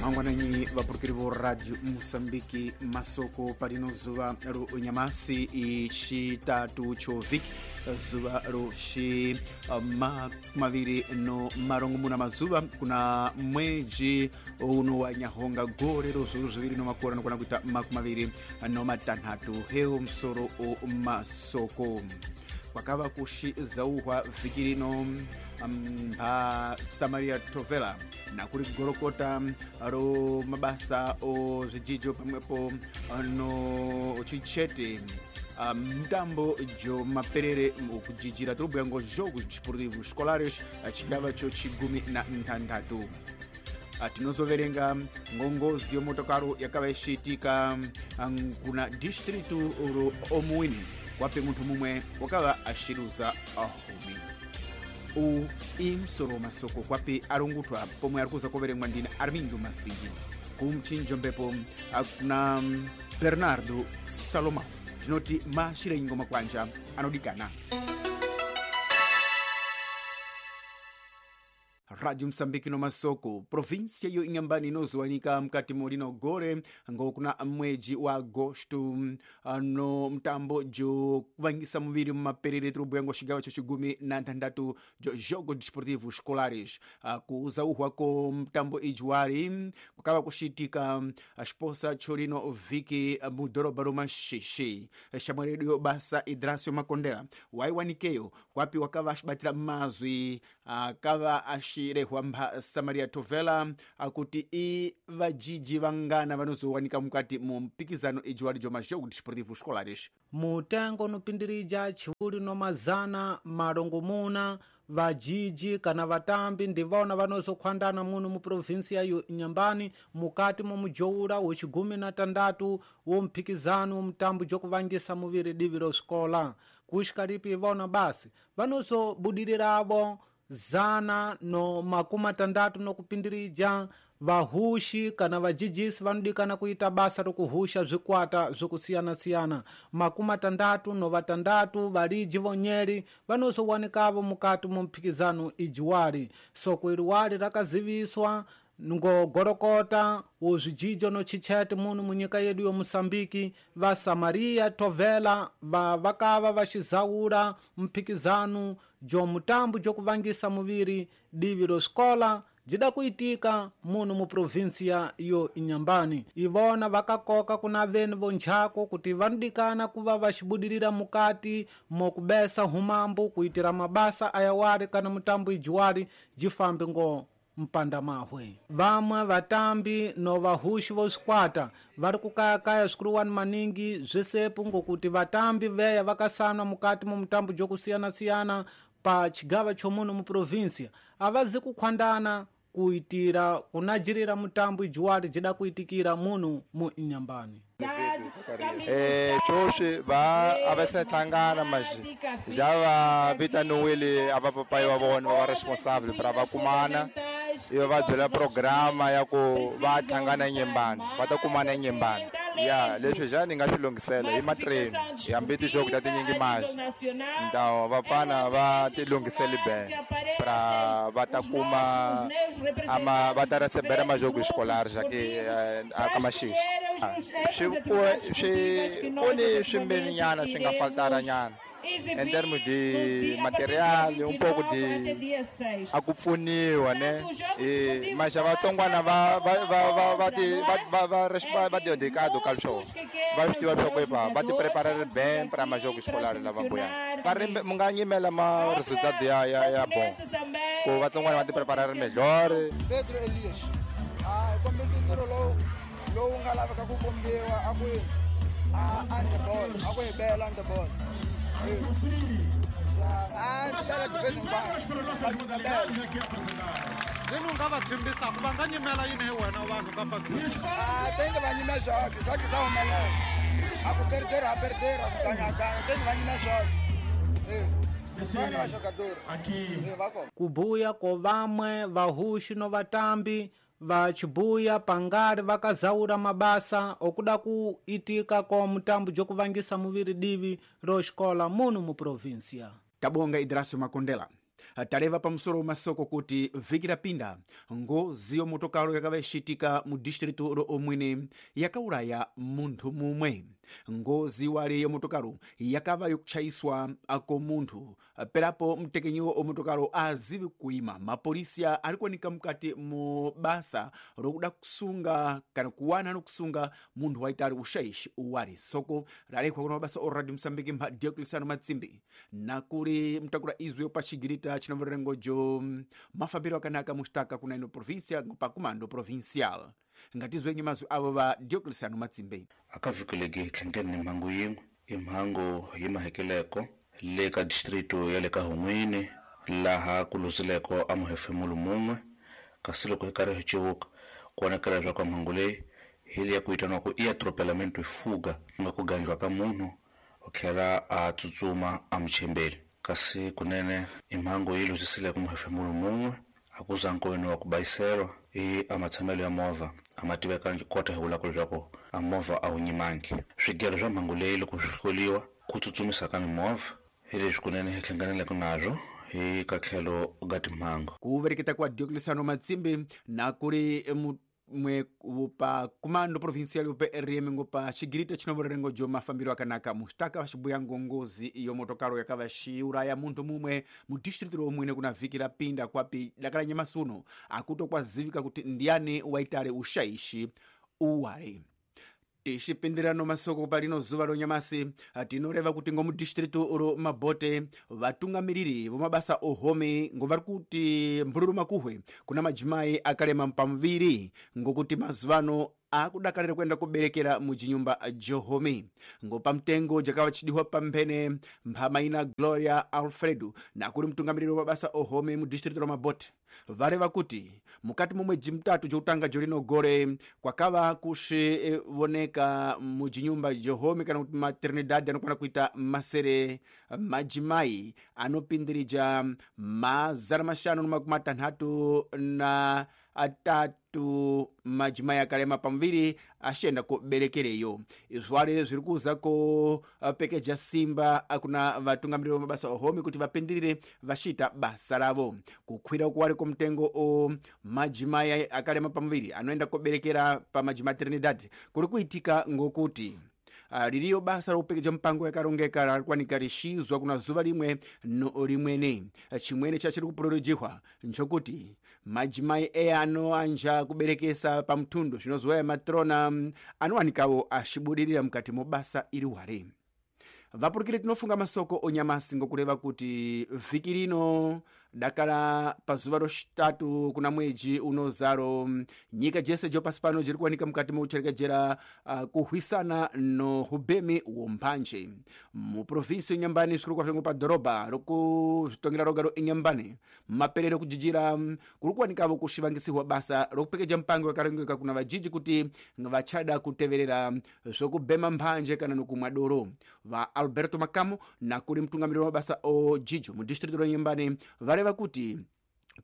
Mangwananyi vapurukiri vo Radio Musambiki, masoko parino zuva ro nyamasi ixitatu chovhiki, zuva ro xi maviri no marongomuna mazuva kuna mweji uno wa nyahonga gore ro zviuru zviviri no makore anokwana kuita 26. Hewo musoro o masoko kwakava kuxizauhwa vhiki rino mpha Samaria Tovela nakuri gorokota ro mabasa o zvijijo pamwepo no chichete mtambo jo maperere okujijira tirobhuya ngo jogos desportivos escolares chigava cho chigumi na ntandatu. Tinozoverenga ngongozi yomotokaro yakava ichiitika kuna distritu ro Omuine wape munthu mumwe wakava axiruza ahumi. U imsoro masoko kwapi arungutwa pomwe ari kuza kuverengwa ndina Armindo Masingi kumchinjombepo kuna Bernardo Salomão. Tinoti mashirenyi ngoma kwanja anodikana. Radio Msambiki no masoko provinsia yo Inhambane inozowanika mkati molino gore ngokuna mweji wa agosto no mtambo jo kuvangisa muviri mumaperere tirobhuya ngo xigawa cho xigumi na ntandatu jo jogo desportivo escolares. Kuzauhwa ko mtambo ijuwari kukava kuxiitika xiposa cholino vhiki mudhorobha ro Maxixi. Xamweredu basa Idrasio Makondela waiwanikeyo kwapi wakava axibatira mazwi akava axirehwa mpha Samaria Tovela akuti i vajiji vangana vanozowanika mukati mu mpikizano ijiwali jo majogo desportivo escolares. Mutengo unopindirija chiuli no mazana marongomuna vajiji kana vatambi ndivona vanozokhwandana muno mu provinsia yo Inhambane mukati mo mujoula wechigumi na tandatu wo mphikizano wo mtambo jokuvangisa muviri divi ro xikola. Kuxikalipi ivona basi vanozobudiriravo 160 nokupindirija vahuxi kana vajijisi vanodikana kuita basa rokuhusha zvikwata zvokusiyana-siyana. 66 valiji vonyeri vanozowanikavo mukati mu mphikizano ijiwali. Soko iliwali rakaziviswa ngogorokota wo zvijijo no chichete muno munyika yedu yo Musambiki va Samaria Tovela va vakava vaxizaula mphikizano jo mutambo jokuvangisa muviri divi ro xikola jida kuitika muno mu provinsia yo Inhambane. Ivona vakakoka kuna veni vonjako kuti vanodikana kuva vaxibudirira mukati mokubesa humambo kuitira mabasa ayawali kana mutambo ijiwali jifambe ngo mpanda mahwe. Vamwe vatambi no vahuxi vo swikwata vari kukayakaya swikuruwani maningi zvisepo ngokuti vatambi veya vakasanwa mukati mu mutambo jokusiyana-siyana pa chigava chomuno mu provinsia avazi kukhwandana kuitira kunajirira mutambo ijiwali jida kuitikira muno mu Inhambane. Sweswi va a va se hlangana manje ja va vitaniwile a vapapayi wa vona va va responsible pra va kumana ivi va byela programa ya ku va hlangana Inhambane, va ta kumana Inhambane. Ya leswi ja ni nga swi lunghisela hi matrain hambi tixoku ta tinyingi manje ntawo vapfana va ti lunghiseli be pra va ta kuma ama va ta recebera majogo escolar ja ke aka Maxixi. Swi ku ni swimbirhinyana swi nga faltara nyana em termos de material, um pouco de a ku pfuniwa ne mas vatsongwana va va va va ti va va va dedicado ka swona va swi tiva swa ku va ti preparar bem para majogo escolar lava mbuyana va ri mi nga nyimela ma resultado ya ya ya bom ku vatsongwana va ti preparar melhor. Pedro Elias a kombisa ntirho lowu nga laveka ku kombiwa a ku a on the ball a ku hi bela on the ball. Leno nga va tshembisaka va nga nyimela yini hi wena vanhu ka fasi tenge va nyime swoxe swoxe swa humelela a ku perdera a perdera ku ganyaganya tenge va nyime swoxe vana va jogador va kona. Kubuya ko vamwe vahuxi no vatambi va chibuya pangari vakazaura mabasa okuda kuitika ko mutambo jokuvangisa muviri divi ro xikola muno mu provinsia. Tabonga Idrasio Makondela. Taleva pamusoro masoko kuti vhiki rapinda ngozi yomotokaro yakava ichiitika mu distritu ro omwene yakauraya munthu mumwe. Ngozi wale yomotokaro yakava yokuchayiswa ako munthu, perapo mtekenyiwo omotokaro azivi kuima. Mapolisiya ari kuoneka mukati mu basa rokuda kusunga kana kuwana nokusunga munthu waitari ushaishi uwali. Soko ralekhwa kuna mabasa o Radio Msambiki mpha Dioclesiano Matsimbi nakuli mtakula izwi pachigirita chinomvererengojo mafambiro akanaka mustaka kuna ino província pa comando provincial. Ngatizwenye mazwi avo va Dioclesiano Matsimbi. Akavikeleki tlhangeni ni mhangu yin'we i mhangu yi mahekeleko le ka distrito ya le ka Hun'wini laha ku luzileko a muhefemulo mun'we, kasi loko hi karhi hi civuka ku vonakala leswaku mhangu leyi hi leya ku vitaniwaku i atropelamento fuga, ku nga ku gangiwa ka munhu u tlhela a tsutsuma a muchembeli. Kasi kunene i mhangu yi luzisileko muhefemulo mun'we, a ku za nkoyini wa ku bayiselwa i a matshamelo ya movha a ma tivekangi kota hi vulaka leswaku a movha a wu nyimangi. Swigelo swa mhangu leyi loko swi hloliwa ku tsutsumisa ka mimovha hi leswi kunene hi hlanganeleke nazwo hi ka tlhelo ga timhangu. Ku vereketa kwa Dioclesiano Matsimbi na kuri mwe upa comando provincial upe RM ngopa chigirita chinovorerengo jo mafambiro akanaka mustaka vachibuya ngongozi iyo motokaro yakava shiuraya munthu mumwe mu district romwene kuna vhiki rapinda kwapi dakala nyamasi uno akuto kwazivika kuti ndiani waitare ushaishi uwale. Tixipindirano masoko palino zuva lonyamasi tinoreva kuti ngo mudistritu ro Mabote vatungamiriri vomabasa ohome ngo vari kuti mbululu makuhwe kuna majimai akalema pamuviri ngokuti mazuvano akudakalira kuenda kuberekera mujinyumba johome. Ngo pamtengo jakava chidiwa pamphene mphamaina Gloria Alfredo nakuli mtungamiriri wa mabasa ohome mu district la Mabote vareva kuti mukati mwa mwedzi mutatu jokutanga jolino gore kwakava kuxivoneka mujinyumba johome kana kuti maternidade anokwana kuita masere majimai anopindirija 563 majimai akalema pamuviri axienda kuberekereyo. Izwale zviri kuza kupekeja simba kuna vatungamiriri va mabasa ohome kuti vapindirire vaxiita basa ravo. Kukwira kuwali ko mtengo o majimai akalema pamuviri anoenda kuberekera pa majimaternidade kuri kuitika ngokuti liliyo basa lokupekeja mpango yakarongeka larikwanika lixizwa kuna zuva limwe no limwene. Chimwene chachiri kupululujihwa nchokuti majimai eya anoanja kuberekesa pamthundu zvinozoya matrona anowanikawo axibudirira mukati mo basa iri wale. Vapurukire tinofunga masoko onyamasi ngokureva kuti vhiki rino dakala pazuva roxitatu kuna mwedzi unozaro nyika jese jo pasi pano jiri kuwanika mukati moucherekejera kuhwisana no hubemi womphanje muprovinsi yenyambani zvikuru kwazvo padhorobha rokuzvitongera roga ro inyambani maperero kujijira kuri kuwanikavo kuxivangisiwa basa rokupekeja mpango yakarongeka kuna vajiji kuti vachada kuteverera zvokubhema mphanje kana nokumwa doro. Va Alberto Makamo nakuri mutungamiriri wa mabasa o jijo mu district ro Nyambani vareva kuti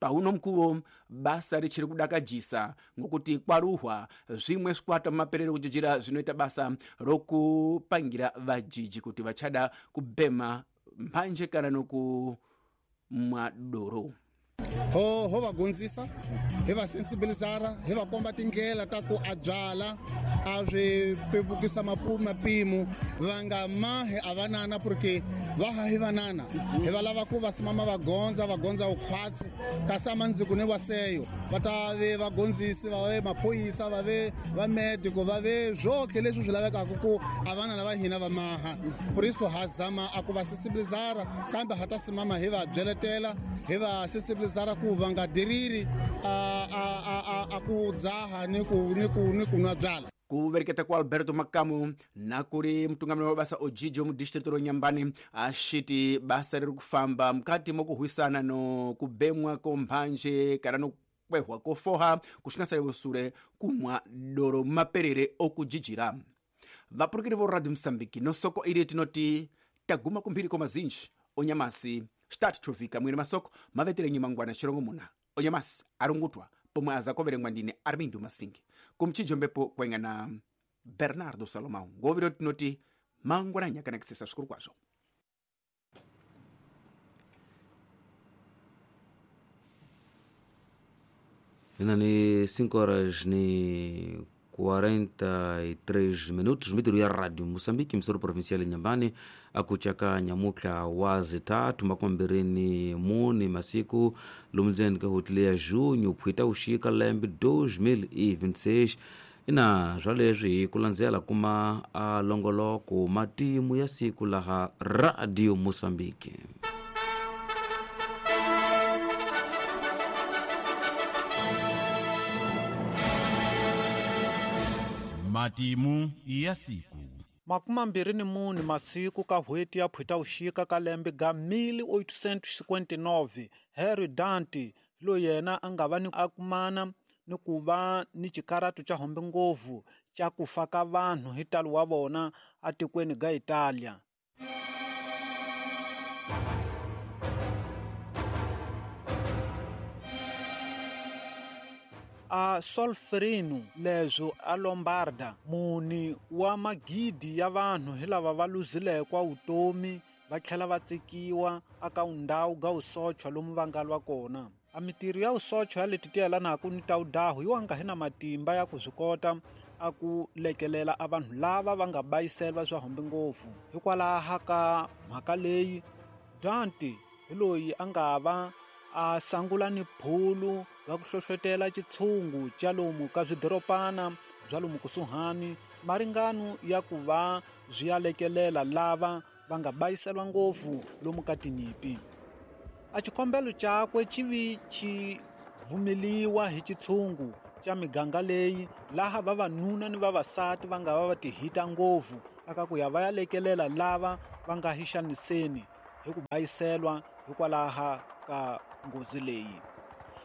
pauno mkuwo basa richiri kudakajisa ngokuti kwaruhwa zvimwe zvikwata mumaperero kujijira zvinoita basa rokupangira vajiji kuti vachada kubhema mphanje kana nokumwa doro. Ho va gonzisa hi va sensibilizara hi va komba tindlela ta ku a byala a swi pepukisa mapimo va nga mahi a vanana porque va ha hi vanana hi va lava ku va simama va gondza vukhwatsi kasi a mandziko ni waseyo va ta ve vagondzisi va ve maphorisa va ve va medico va ve swotlhe leswi swi lavekaka ku a vanana va hina va maha. Por isso ha zama a ku va sensibilizara kambe ha ta simama hi va byeletela hi va sensibilizara ku va nga diriri a ku dzaha ni ku nwa byala. Kuvereketa kwa Alberto Makamu nakuri mutungamiri wa basa ojijo mu district ro Nyambani axiti basa riri kufamba mukati mokuhwisana no kubemwa ko mphanje kana no kwehwa kofoha kuxingasale sule kumwa doro maperere okujijira. Vapurukiri vo Radio Msambiki nosoko ili tinoti taguma kumphiri ko mazinji onyamasi xitatu chovika mwene masoko mavetele nyimangwana xirongo muna onyamasi arungutwa pomwe azakoverengwa ndine Armindo Masingi kumchijo mbepo kwengana Bernardo Salomão ngoviro tinoti mangwana nyakanakisisa svikuru kwazvo. Inani 5 horas ni 43 minutos mitiru ya Radio Moçambique msoro provincial Nyambani akuchaka nyamukla wazi tatu makombereni muni masiku lumzeni ka hoteli ya junho phwita uxika lembe 2026 ina swa leswi hi ku landzela kuma a longoloko matimu ya siku laha Radio Moçambique. Matimu ya siku. 24 masiku ka hweti ya Phutauxika ka lembe ga 1859 Harry Dante loyi yena a nga va ni akumana ni ku va ni xikaratu xa hombe ngopfu xa ku fa ka vanhu hi talo wa vona atikweni ga Italia. A Solferino leswo a Lombarda muni wa magidi ya vanhu hi lava va luzilekwa vutomi va tlhela va tsikiwa aka ndhawu ga usochwa lomu va nga lwa kona. A mitirho ya usochwa ya leti tiyelanaka ni ta udahu yi wanga hi na matimba ya ku swi kota a ku lekelela a vanhu lava va nga bayiselwa swa hombe ngopfu. Hikwalaho ka mhaka leyi Dante hi loyi a nga va a sangula ni phulu ga ku hlohlotela xitshungu xa lomu ka swidorobana bya lomu kusuhani maringano ya ku va swi ya lekelela lava va nga bayiselwa ngopfu lomu ka tinyimpi. A xikombelo xakwe xi vi xi vumeliwa hi xitshungu xa miganga leyi laha vavanuna ni vavasati va nga va va tihita ngopfu aka ku ya va ya lekelela lava va nga hi xaniseni hi ku bayiselwa hikwalaho ka nghozi leyi.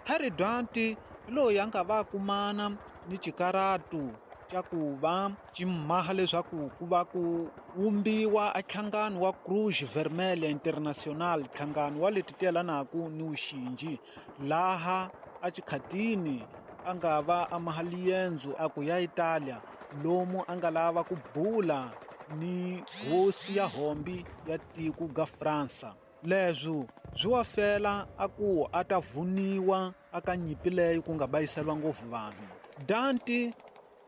Harry Dante loyi a nga va kumana ni xikaratu xa ku va ximaha leswaku ku va ku vumbiwa a nhlangano wa Cruz Vermelha International, nhlangano wa leti tiyelanaka ni vuxinji, laha a xikhatini a nga va a maha liendzo a ku ya Italia lomu a nga lava ku bula ni hosi ya hombi ya tiko ga Fransa. Leswo swi wa fela a ku a ta vuniwa aka nyimpi leyi ku nga bayiselwa ngopfu vanhu. Dante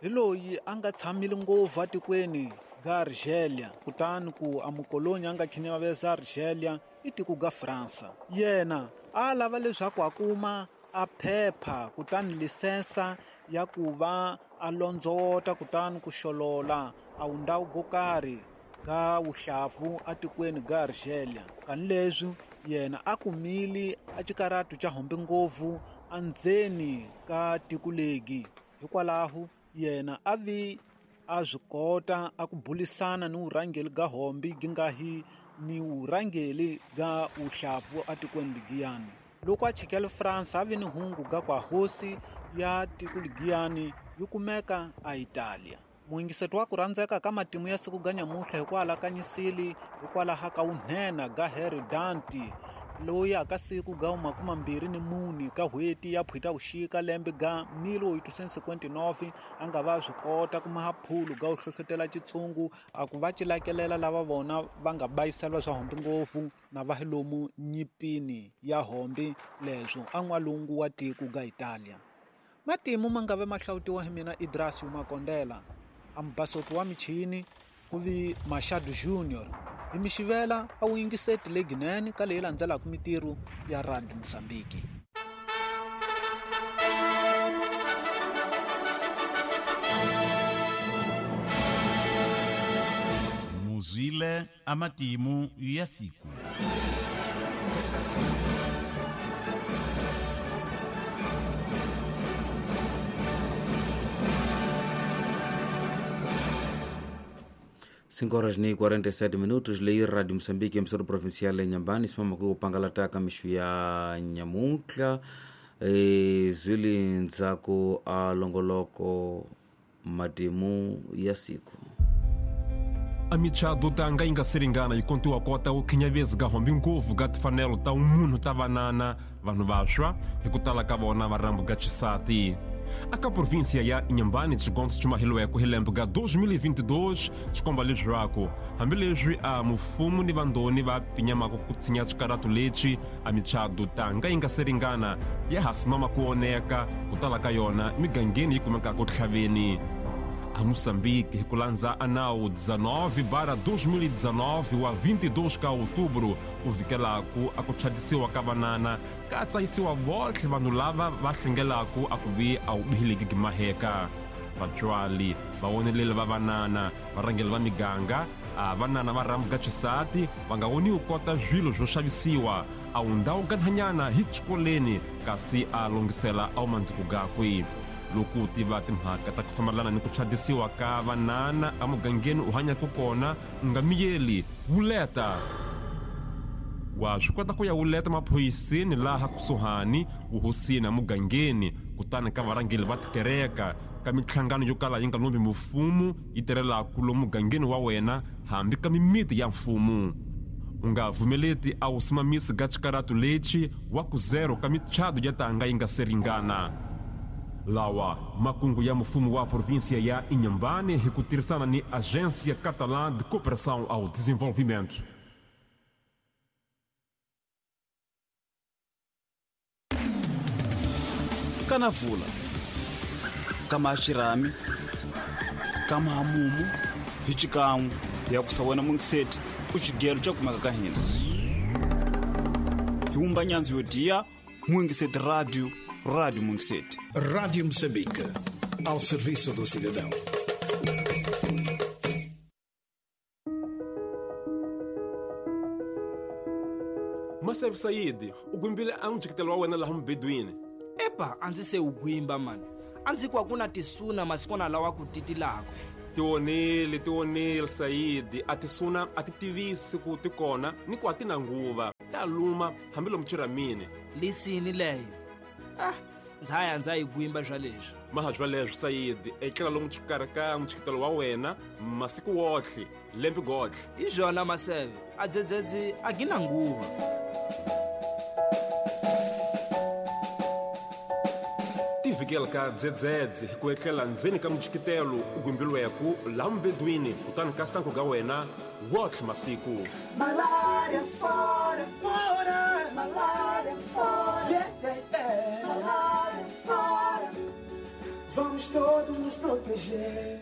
hi loyi a nga tshamile ngopfu atikweni ga Argelia, kutani ku a mukoloni a nga khinyaveza Argelia i tiko ga Fransa. Yena a lava leswaku a kuma a phepha kutani lisensa ya ku va a londzota kutani ku xolola a wundhawu go karhi ga wuhlavu atikweni ga Argelia. Kani leswi yena a kumile a xikaratu xa hombe ngopfu andzeni ka tiko legi, hikwalaho yena a vi a swi kota a ku bulisana ni vurhangeri ga hombi gi nga hi ni vurhangeri ga wuhlavu atikweni ligiyani. Loko a chikele France a vi ni hungu ga kwa hosi ya tiko ligiyani yi kumeka a Italia. Muingiseto wa ku rhandzeka ka matimu ya siku ga nyamuhla hi ku alakanyisile hikwalaho ka vunhenha ga Harry Dante loyi aka siku ga 24 ka hweti ya Phutavuxika lembe ga 1859 a nga va swi kota ku maha phulu ga ku hlohlotela xitshungu a ku va cilakelela lava vona va nga bayiselwa swa hombi ngopfu na va hi lomu nyimpini ya hombi leswo a n'walungu wa tiko ga Italia. Matimu ma nga ve ma hlawutiwa hi mina Idrasio Makondela, ambasoto wa michini ku vi Machado Junior. Hi mixivela a wu yingiseti leginene ka leyi landzelaka mitirho ya Radio Moçambique. Muzwile amatimu ya siku. Cinco horas ni 47 minutos lei Radio Moçambique emissora provincial em Nhambane simama ku pangala taka mixu ya Nhamutla zwili ndzhaku a longoloko matimu ya siku. A michado tanga yi nga siringana yi kontiwa kota ku khinyavezi ga hombi ngopfu ga tifanelo ta munhu ta vanana vanhu vaxwa hi ku tala ka vona va rambu ga xisati. Aka província ya Inhambane xigondzo xi mahilweko hi lembe ga 2022 xikomba leswaku hambileswi a mufumo ni vandoni va pinyamaka ku tshinya xikaratu lexi a michado tanga yi nga se ringana ya ha simama ku oneka ku tala ka yona migangeni yi kumekaka tlhaveni. A Moçambique, hi ku landza a nawu 19/2019 wa 22 ka outubro u vikelaku a ku chadisiwa ka vanana ka tsayisiwa votlhe vanhu lava va hlengelaku a ku vi a wu bihileki gimaheka. Vatswali vawoneleli va vanana varhangeli va miganga a vanana va rhambuka xisati va nga woniwi kota swilo swo xavisiwa a wu ndhawu kanhanyana hi xikoleni kasi a longisela a wu mandziko gakwe. Loko u tiva timhaka ta ku fambelana ni ku chadisiwa ka vanana emugangeni u hanyaka kona u nga miyeli wuleta. Wa swi kota ku ya wuleta maphoyiseni laha kusuhani vuhosini emugangeni kutani ka varhangeli va tikereka ka minhlangano yo kala yi nga lombi mfumo yi tirhelaka lomu mugangeni wa wena hambi ka mimiti ya mfumo. U nga vumeleti a wu simamisi ga xikaratu lexi wa ku zero ka michado ya tanga yi nga se ringana. Lawa makungu ya mfumo wa província ya Inhambane hi ku tirhisana ni Agência Catalã de Cooperação ao Desenvolvimento. Kanavula kama xirhami kama hamumu hi xikan'we ya ku sa wena mungiseti u xigelo xa kumeka ka hina hi wumba nyandzu yo diya Mungiseti Radio, Rádio Mungiseti. Rádio Moçambique, ao serviço do cidadão. Maseve Said, u gwimbile a n'wi wa wena laha mubedweni. Epa, a ndzi se u gwimba mani. A ndzi ku a ku na tisuna masikwana lawa ku titilaka. Tionile Said, a tisuna a ti tivisi ku ti kona ni ku a ti na nguva. Ta luma hambi lomu chiramini. Lisini leyo. Ndza ndza yi gwimba swa leswi. Maha swa leswi Said, etlela lomu xikarhi ka mutshikitelo wa wena masiku wotlhe, lembe gotlhe. Hi swona Maseve, a dzedzedzi a gi na nguva. Tivikela ka dzedzedze hi ku etlela ndzeni ka mutshikitelo u gwimbilweku laha mubedweni kutani ka sanko ga wena wotlhe masiku. Malária fora, fora, malária fora, yeah, yeah, yeah. Malária fora, vamos todos nos proteger.